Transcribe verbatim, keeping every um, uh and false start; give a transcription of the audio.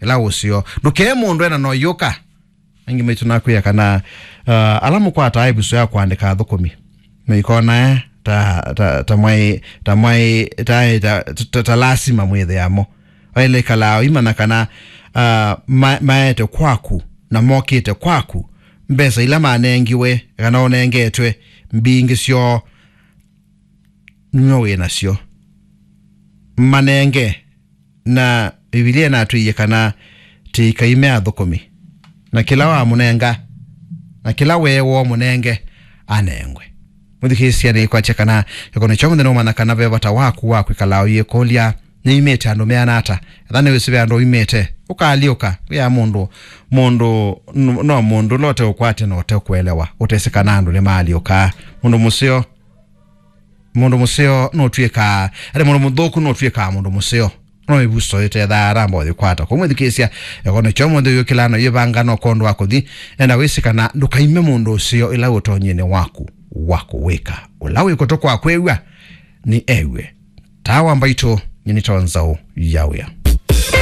ĩla ũseo. Ndũkee mũndũ ena no yũka. Angĩ maitũ nakwĩa kana, uh, ala mũkwataa ĩvuso ya kũandĩka athũkũmi, mũikona, eh, ta, ta, ta mwai, ta mwai, ta, ta, ta, ta lasima mwĩthĩamo. Waĩle ĩkalaa ũimanya kana, uh, ma-, maete kwaku na mokĩte kwaku, mbesa ila manengiwe kana ũnengetwe, mbingĩ syoo nĩwe wĩ nasyo. Manenge, na Mbivilia ĩnatwĩie kana tĩikaime athũkũmi, na kĩla wamũnenga, na kĩla weewa ũmũnenge, anengwe. Mwĩthukĩĩsya nĩkwatya kana kĩkono kya mũthenya ũmanya kana ve vata waku wa kwĩkala ũyĩkũlya, nĩimĩte andũ meana ata? Etha nĩwĩsĩ ve andũ ũimĩte, ũkaalyũka, wĩa mũndũ, mũndũ, no mũndũ ũla ũteũkwatya na ũtekũelewa, ũtesĩ kana andũ nĩmaalyũkaa. Mũndũ mũseo, mũndũ mũseo nũtw'ĩkaa, ate mũndũ mũthũku nũtw'ĩkaa mũndũ mũseo. No ĩvuso ĩtethaa aramba ũyĩkwata. Kwa mwĩthukĩĩsya, eko nĩkyo mũnthĩ ũyũkĩlaa na ũyĩvanga no kwondũ wa kũthi, enda wĩsĩ kana ndũkaime mũndũ ũseo ĩla ũtonyinĩ waku wa kũwĩka. Ũla wĩ kũtũ kwa kwĩw'a, nĩ ew'e. Tawa mbaitũ, nyinito nzaũ ya wĩa.